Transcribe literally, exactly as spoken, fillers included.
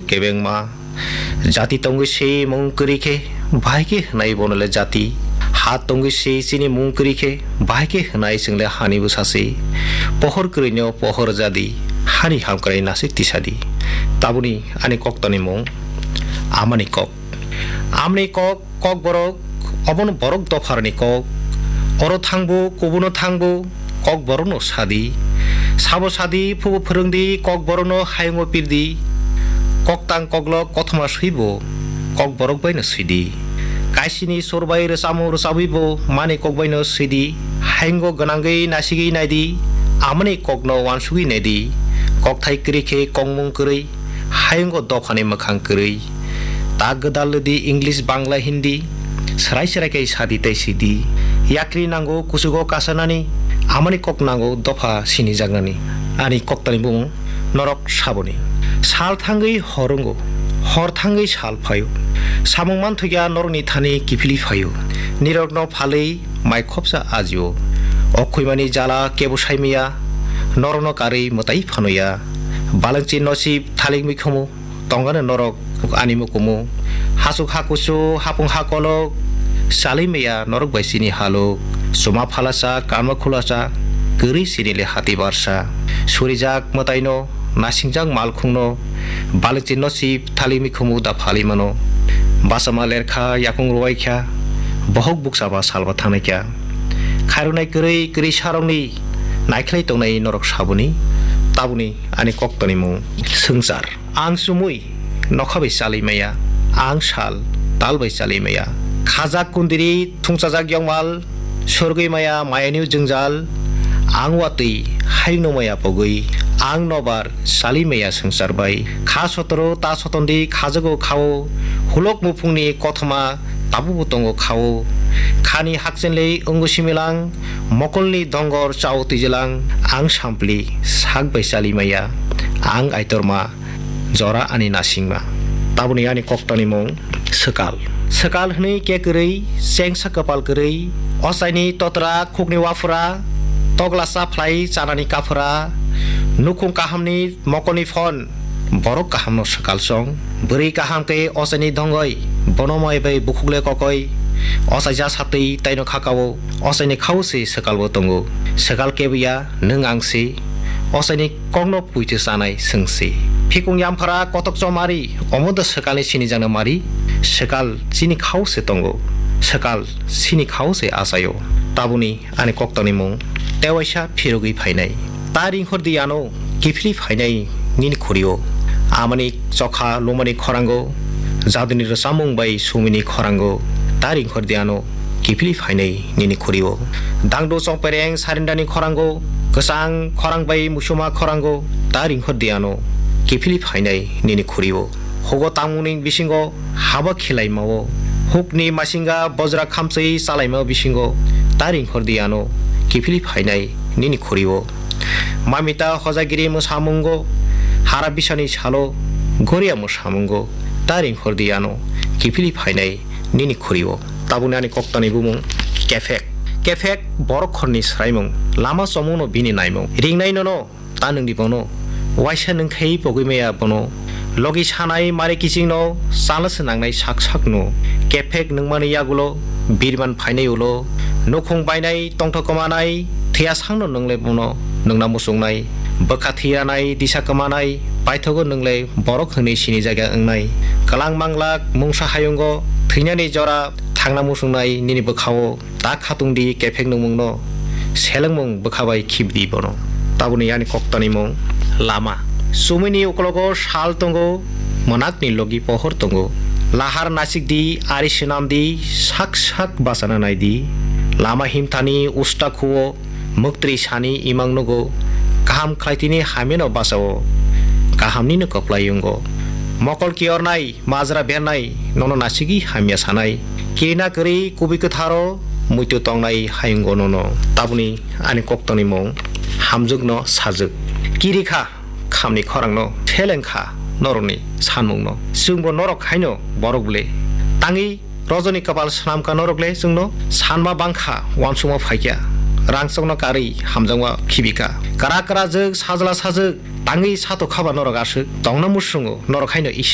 kebengma. Jati tongwi se mung kwrwi khe, bahai khe hwnai bono le jati. Ha tongwi se chini mung kwrwi khe, bahai khe hwnai chwng le hani bwsa se. Pohor kwrwino pohor jadi, hani hamkrai nasik tisadi. Tabuni ani koktani mung, amani kok. Amni kok, kokborok, obono borok dopharni kok. Oro thangbo, kubuno thangbo, kokborokno sadi. Sabo sadi, phubo phwrwngdi, kokborokno hayungo pirdi. Koktang koklok kothoma swibo, kokborok baino swidi. Kaisini sur bai rwchamo rwchabwibo, mani kok baino swidi. Hayungo gwnangwi nasigwi naidi, amani kokno uansugwi naidi. Kokthai kwrwi khe kokmung kwrwi. Hayungo dophani mwkhang kwrwi. Ta gwdal di English, Bangla, Hindi. Srai srai khe sadi tei sidi. Yakri nango kuchugo kasanani. Amani kok nango dopha sinijaknani. Ani koktani bumung norok saboni. Sal thangwi hor wngo. Hor thangwi sal phaio. Samung manthokya norokni thani kiphilwi phaio. Nirokno phalwi mai khopsa ajio. O khwimani jala kebo saimaya. Norokno karwi mwtai phanoya. Balengchi nosib thalik mikhumu, tongani norok ani mukumu. Hasuk hakusu, hapung hakolok, salwi maya norok bai chini haluk. Chuma phalasa, kanma khulasa, kwrwi chini le hati barsa. Surijak mwtaino, nasingjak malkhungno, balengchi nosib thalik mikhumu da phalwi mano. Bachama lerkha, yakung ruwaikha, bohok bukchaba salba thangnaikha. Khairoknai kwrwi kwrwi sarokni naikhlai tongnai norok saboni, taboni ani koktani mung swngchar. Ang chumui nokha bai chalwi maya, ang sal tal bai chalwi maya. Khajak kundiri thungchajak yongmal, sorgwi maya mayani jwngjal. Ang watwi hayungno maya pogwi, ang nobar chalwi maya swngchar bai. Kha sotoro ta sotondi khajago khao, hulok muphungni kothoma tabukbo tongo khao. Khani hakchenlwi wngo similang, mokolni dongor chao twijilang, ang sampli sak bai chali maya, ang aitorma jora ani nasingma. Taboni ani koktani mung swkal. Swkal hwnwi kekwrwi chengsa kwpal kwrwi, ochaini totra khukni waphura, toglasa phlai chanani kaphura, nukhung kahamni mokolni phon, borok kahamno swkal chong. Bwrwi kaham khe ochaini dongoi, bono mai bai bukhuk le kokoi. Ochaija satwi taino khakao, ochaini khao se swkalbo tongo. Swkal kebuya nwng ang se, ochaini kokno puitwi chanai swng se. Phikung yamphara kotok chomari, omo da swkalni sinijakna mari. Swkal chini khao se tongo, swkal chini khao se achaio. Taboni ani koktani mung tewaisa phirogwi phainai. Ta ringkhor di ano kiphilwi phainai nini khurio. Amani chokha lumani khorango, jaduni rwchapmung bai sumini khorango. Ta ringkhor di ano kiphilwi phainai nini khurio. Dangdo chongpereng sarindani khorango, kwchang khorang bai musuma khorango. Ta ringkhor di ano kiphilwi phainai nini khurio. Hugo tangmungni bisingo haba khilaimao, hukni masinga bojra khamchwi chalaimao bisingo, ta ringkhor di ano kiphilwi phainai nini khurio. Mamita hojagiri mwsamungo, hara bisani salo goria mwsamungo, ta ringkhor di ano kiphilwi phainai nini khurio. Tabuni ani koktani bumung kephek. Kephek borok khorni swraimung, lama chomungno bini naimung. Ringnai nono, ta nwngdi bono, waisa nwngkhai pogwi maya bono. Logi sanai mari kichingno, chala se nangnai sak sakno. Kephek nwngmani yagulo, birman phainai ulo. Nukhung bainai, tongthok kwmanai, thwiya sangno nwngle bono, nwngna muchungnai. Bwkha thwiranai, disa kwmanai, paithogo nwngle borok hwnwi sinijakya wngnai. Kwlang manglak, mungsa hayungo, thwinani jora, thangna muchungnai nini bwkhao. Ta khatung di kephek nungmungno, selengmung bwkha bai khibidi bono. Taboni ani koktani mung lama. Sumini ukologo sal tongo, mwnakni logi pohor tongo. Lahar nasik di, ari swnam di, sak sak bachana nai di. Lama himthani usta khuo, mwktwi sani imang nugo. Kaham khlaitini hamyano bachao, kahamnino kwplai wngo. Mokol kiyornai, majra bernai, nono nasigwi hamya sanai. Kirina kwrwi kubui kwtharo muitu tongnai hayungo nono. Taboni ani koktoni mung hamjwkno sajwk. Kirikha khamni khorangno, selengkha norokni sanmungno. Chwngbo norok haino borok ble. Tangwi rojoni kwpal swnamkha norok le chwngno sanma bangkha, uansukma phaikha. Rangchokno karwi hamjakma khibikha. Kwrak kwrajwk, sajla sajwk, tangwi satok khaba norok aswk. Tongna muchungo norok haino